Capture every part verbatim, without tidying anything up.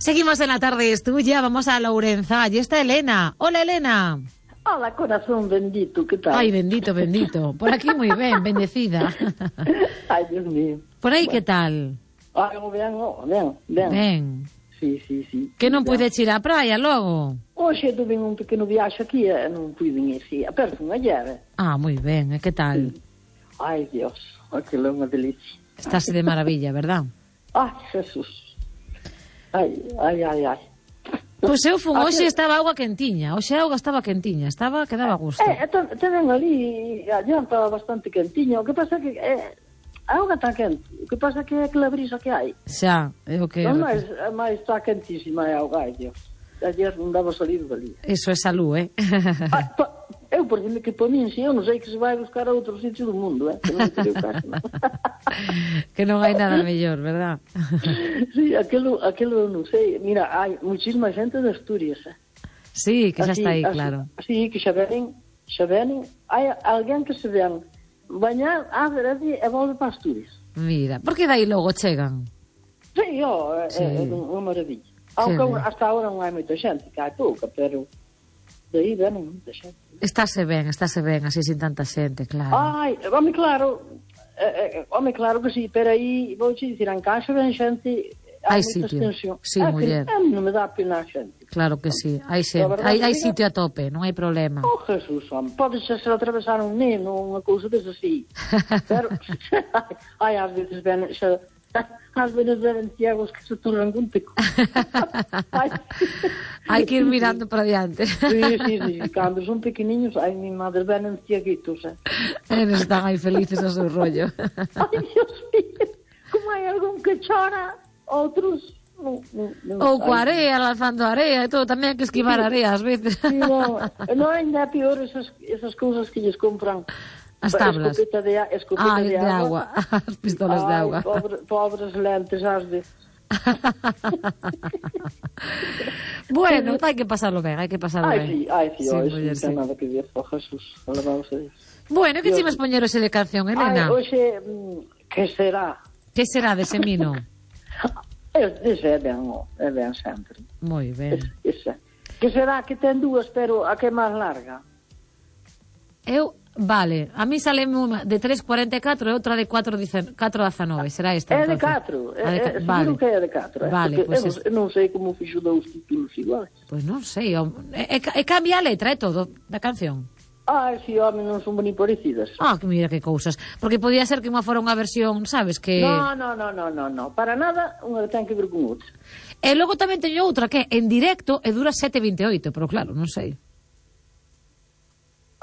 Seguimos en La Tarde es Tuya, vamos a Lourenza. Allí está Elena. Hola, Elena. Hola, corazón bendito, ¿qué tal? Ay, bendito, bendito. Por aquí muy bien, bendecida. Ai, Dios mío. Por aí, Bueno. que tal? Ai, ben, oh, ben, ben. Ben. Sí, sí, sí. Que non ben. puides ir á praia logo? Hoxe tuve un pequeno viaxe aquí e non puiden ir, sí. Aperto unha llave. Ah, moi ben, e que tal? Ai, Dios, aquilo é unha delicia. Estás de maravilla, verdad? Ai, Jesús. Ai, ai, ai, ai. Pois eu fun, Ah, hoxe que- estaba auga quentiña. Hoxe a auga estaba quentiña, estaba que daba gusto. Eh, te, te ven ali, adianta bastante quentiño. O que pasa é que eh, a auga está quente. O que pasa é que é aquela brisa que hai. Xa, é o que... Non máis, máis está quentísima a auga, ai, Dios. Ayer non daba salir dali. Iso é salud, eh? Ah, pa, eu, por exemplo, que para min, se eu non sei que se vai buscar a outro sitio do mundo, eh? Que non creo caso, non? Que non hai nada mellor, verdad? Sí, aquilo, aquilo non sei. Mira, hai muchísima xente de Asturias, eh? Sí, que xa Así- está aí, así- claro. Sí, que xa venen, xa venen. Hai alguén que se ven bañar a Veredi e volve para Asturias. Mira, por que dai logo chegan? Sí, ó, é, Sí. é unha maravilla. Aunque ben. hasta agora non hai moita xente, que hai pouca, pero de aí venen moita xente. Estáse ben, estáse ben, así sin tanta xente, claro. Ai, home, claro, eh, eh, home, claro que sí, pero aí, vou te dicir, en casa ven xente, Hai hai moita sitio. extensión. Sí, Ah, muller. que, eh, non me dá pena a xente. Claro que sí, hai A xente, verdade hai, hai diga- sitio a tope, non hai problema. Oh, Jesús, home, pode ser se atravesar un neno, unha cousa desa así. Pero, ai, ás veces ven, xa, ás veces ven ciegos que se turran con pico. Ai. Hai que ir mirando para diante. Sí, sí, sí, cando son pequeniños, ai, mi madre venen cieguitos, eh. Eles están aí felices a seu rollo. Ai, Dios mío, como hai algún que chora, outros... Non, non, non, Ou coa ai, area, lanzando area e todo, tamén hai que esquivar area ás veces. Sí, non, non ainda é pior esas, esas cousas que lles compran. As tablas. Escopeta de, a- escopeta Ai, de, de agua, as pistolas de Ai, agua. Pobre, pobres lentes, as de... Bueno, hai que pasarlo ben, hai que pasarlo Ai, ben. sí, ai, sí, Sí, ai, muller, sí, sí. non ten nada que ver, oh, Jesús, alabamos a Dios. Bueno, que Dios. chimos poñer ese de canción, Elena? Ai, hoxe, mm, que será? Que será dese mino? Ese é ben, oh, é ben sempre. Moi ben. Ese, ese. Que será que ten dúas, pero a que é máis larga? Eu, vale, a mí sale unha de tres cuarenta e catro e outra de cuatro dezanove, será esta? É de entonces? catro, A de é, ca- é, vale. seguro que é de catro. Eh? Vale, Porque pois eu, es- non- eu non sei como fixo dous títulos iguais. Pois non sei, o- e, e, e cambia a letra e todo da canción. Ai, si, home, non son boni parecidas. Ah, que mira que cousas. Porque podía ser que unha fora unha versión, sabes, que... No, no, no, no, no, no, para nada unha ten que ver con outra. E logo tamén teño outra que é en directo e dura sete vinte e oito, pero claro, non sei.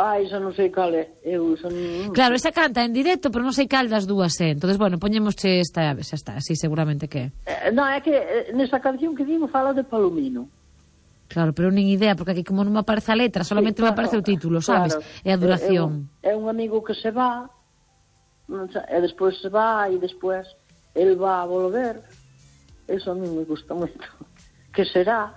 Ai, xa non sei cal é. Eu xa non... Claro, esa canta en directo, pero non sei cal das dúas é. Entonces, bueno, poñemosche esta, xa está, así seguramente que é. Eh, non, é que eh, nesa canción que digo fala de Palomino. Claro, pero nin idea, porque aquí como non me aparece a letra, solamente Sí, me claro, aparece o título, sabes? claro. E a duración. É, é, un, é un amigo que se va, non sa- e despois se va, e despois el va a volver. Eso a mí me gusta moito. Que será?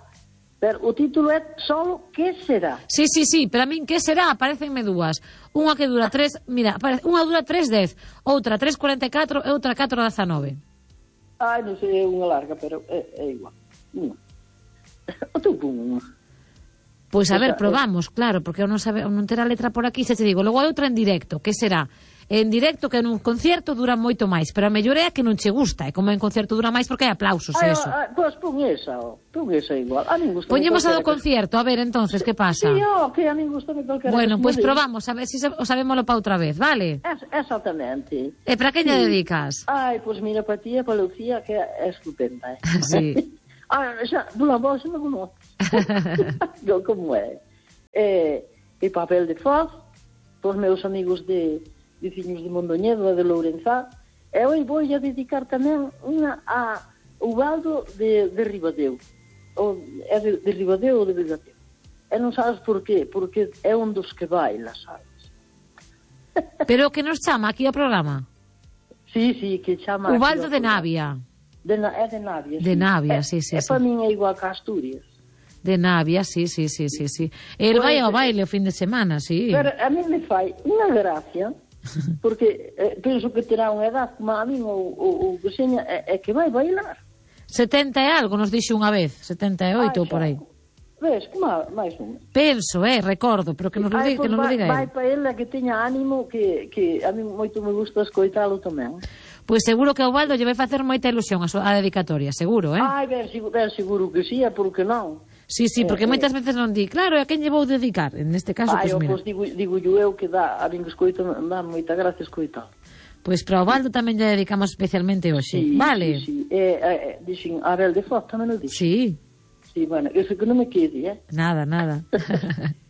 Pero o título é solo Que será? Sí, sí, sí, pero a min que será? Aparecenme dúas. Unha que dura tres, mira, aparece, unha dura tres dez, outra tres cuarenta e catro e outra catro dezanove. Ai, non sei, é unha larga, pero é, é igual. Unha. O teu pon unha. Pois a Esa, ver, probamos, claro, porque eu non sabe, eu non ter a letra por aquí, se te digo, logo hai outra en directo, que será? En directo que nun concierto dura moito máis, pero a mellor é a que non che gusta, e como en concierto dura máis porque hai aplausos, Ai, eso. ai, pois pon esa, oh. Pon esa igual. A min gusta. Poñemos a do concierto, a ver, entonces, que pasa? Sí, oh, que a min gusta calquera. Bueno, pois pues probamos, a ver se si o sabémoslo pa outra vez, vale? Es, exactamente. E para que lle dedicas? Ai, pois mira, para ti e para Lucía, que é estupenda, eh? Sí. Ah, xa, pola voz non como... Yo, como é? E, e papel de foz, pos meus amigos de veciños de Mondoñedo e de Lourenza, e hoy vou a dedicar tamén unha a Ubaldo de, de Ribadeo. O, é de, de Ribadeo ou de Ribadeo. E non sabes por qué, porque é un dos que baila, sabes? Pero que nos chama aquí ao programa? Sí, sí, que chama... Ubaldo aquí de ao programa. Navia. De, na- é de Navia, De sí. Navia, É- sí, sí, É sí. para min é igual que Asturias. De Navia, sí, sí, sí, sí, sí. El Pois, vai ao eh, baile o fin de semana, sí. Pero a mí me fai unha gracia, porque eh, penso que terá unha edad como a min ou, ou, ou que seña, é, é que vai bailar. setenta e algo nos dixo unha vez, setenta e oito ou por aí. Ves, que má, máis un. Penso, eh, recordo, pero que nos lo diga, que nos lo diga vai, ele. Vai para ele que teña ánimo, que, que a mí moito me gusta escoitalo tamén. Pois seguro que o Baldo lle vai facer moita ilusión a, a dedicatoria, seguro, eh? Ai, ben, seguro, ben, seguro que sí, é porque non. Sí, sí, porque eh, moitas veces non di, claro, a quen lle vou dedicar? En este caso, ai, pois mira. Pois digo, digo eu que dá, a mí que escoito, dá moita gracia escoitalo. Pois para o Baldo tamén lle dedicamos especialmente hoxe, sí, vale? Sí, sí, eh, eh, dixen, a Abel de Foz tamén o dixen. Sí. Sí, bueno, eso que non me quede, eh? Nada, nada.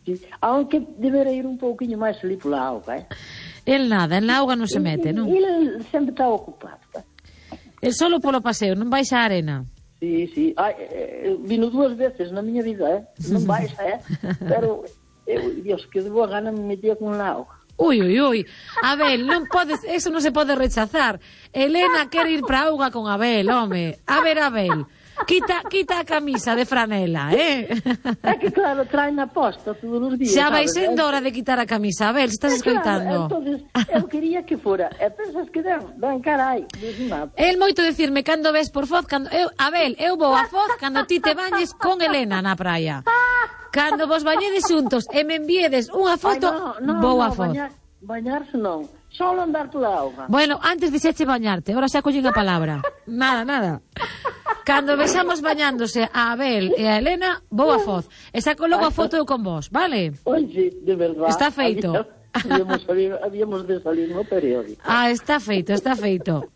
Sí, aunque deberá ir un pouquinho máis ali pola auga, eh? El nada, en la auga non se mete, non? El sempre está ocupado, eh? El solo polo paseo, non vais á arena. Sí, sí. Ai, eh, vino dúas veces na miña vida, eh? Non vais, eh? Pero, eu, Dios, que de boa gana me metía con la auga. Ui, ui, ui. Abel, non podes, eso non se pode rechazar. Elena quere ir pra auga con Abel, home. A ver, Abel, quita, quita a camisa de franela, eh? É que claro, traen a posta todos os días. Xa vai sabes, sendo eh? hora de quitar a camisa, Abel, se estás escoitando. Claro, entonces, eu quería que fora. E pensas que den, ben, carai, desnado. El moito decirme cando ves por Foz, cando eu, Abel, eu vou a Foz cando ti te bañes con Elena na praia. Cando vos bañedes xuntos e me enviedes unha foto, Ay, no, no, vou a no, Foz. Bañar, bañarse non, solo andar pola auga. Bueno, antes dixeche bañarte, ahora xa collín a palabra. Nada, nada. Cando vexamos bañándose a Abel e a Elena, vou a Foz. E saco logo a foto eu con vos, vale? Oye, de verdad. Está feito. Habíamos, habíamos, habíamos de salir no periódico. Ah, está feito, está feito.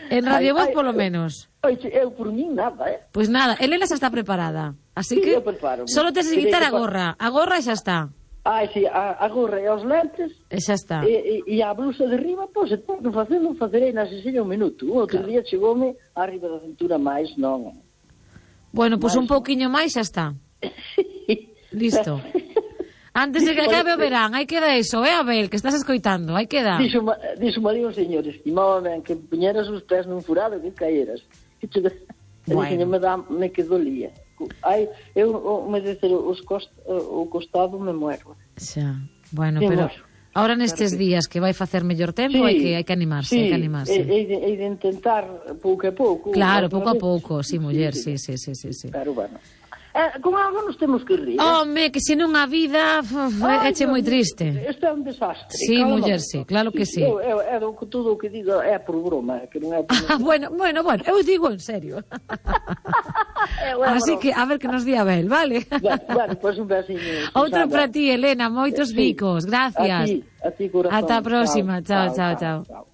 En Radio Voz, polo menos. Oye, eu por min nada, eh? Pois nada, Elena xa está preparada. Así Sí, que eu preparo. solo tes que quitar a gorra. A gorra xa está. Ai, si, a, a gorra e os lentes E xa está. e, e, e a blusa de riba, pois, se tenho que facer, non facerei na sesiña un minuto. O outro día chegoume arriba da cintura máis, non. Bueno, pois Mais un pouquiño máis xa está. Listo. Antes de que acabe o verán, hai que dar eso, eh, Abel, que estás escoitando, hai que dar. Dixo, dixo ali un señor, estimábame que puñeras os pés nun furado que caeras. Que te... Bueno. Dixo, me, dá, me que dolía. Ai, eu, o, me dizer, os cost, o costado me muero. Xa, bueno, Sí, pero muero. ahora nestes Claro que... días que vai facer mellor tempo, Sí, hai que hai que animarse, sí, hai que animarse. E, e, de, e de intentar pouco a pouco. Claro, pouco a vez. pouco, sí, muller, sí, sí, sí, sí, sí. Pero bueno. Eh, con algo nos temos que rir. Home, que se non a vida é che moi triste. Isto é un desastre. Sí, Calma, muller, no. sí, claro que sí. Eu, eu, eu, todo o que digo é por broma, que non é por... Ah, bueno, bueno, bueno, eu digo en serio. eu, eu, Así broma. que, a ver que nos di Abel, vale? Bueno, bueno, pois un besiño. Outro Susana. para ti, Elena, moitos Sí. bicos, gracias. A ti, a ti, corazón. Ata a próxima, chao, chao, chao. chao.